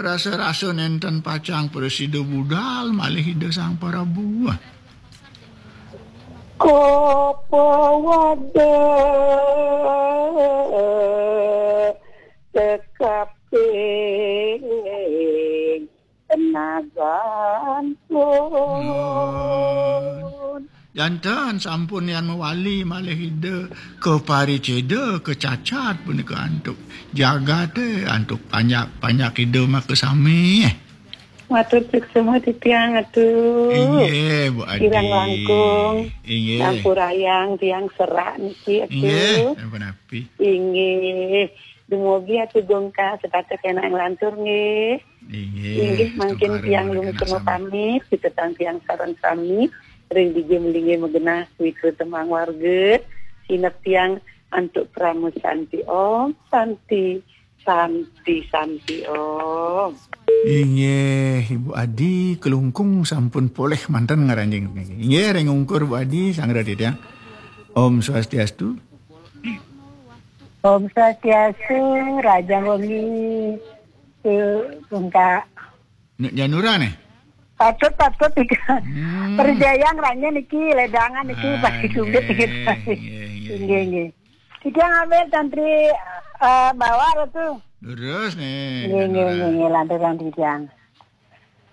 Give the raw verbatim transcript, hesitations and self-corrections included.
Rasa-rasa nenten pacang prasida budal malih Ida Sang Prabu. Janten sampun yan mawali malih Ida kapariceda kacacat punika antuk jagate, antuk panjak-panjak Ida makasami. Matur suksma titiang, Atu. Inggih, Bu Adi. Kirang langkung. Inggih. Sampurayang tiang serak niki, Atu. Inggih, sampun api. Inggih. Dumugi Atu Gungkah setata kena nglantur nggih. Inggih, mangkin tiang lumiku pamit, kita tang tiang sareng sami ring dija melinggih magenah wikruta maang warga. Sinep tiang antuk parama santi Om, santi, santi, santi Om. Inggih, Ibu Adi, Kelungkung sampun polih manten ngaranjing niki. Inggih, ring ungkur Bu Adi, sang Raditya. Om Swastiastu. Om Swastiastu, Raja Wengi, tu Bungka. Nek Janura nih. Patut, patut, tiga. Hmm. Perjayang ranya niki, ledangan niki, ah, pasti sulit nggih, gitu. Nggih, nggih. Nggih, nggih. Tiga ngambil tantri, eh, bawah tu. Terus nih, nggih, nggih, Janura. Nggih, nggih, lantaran tiga.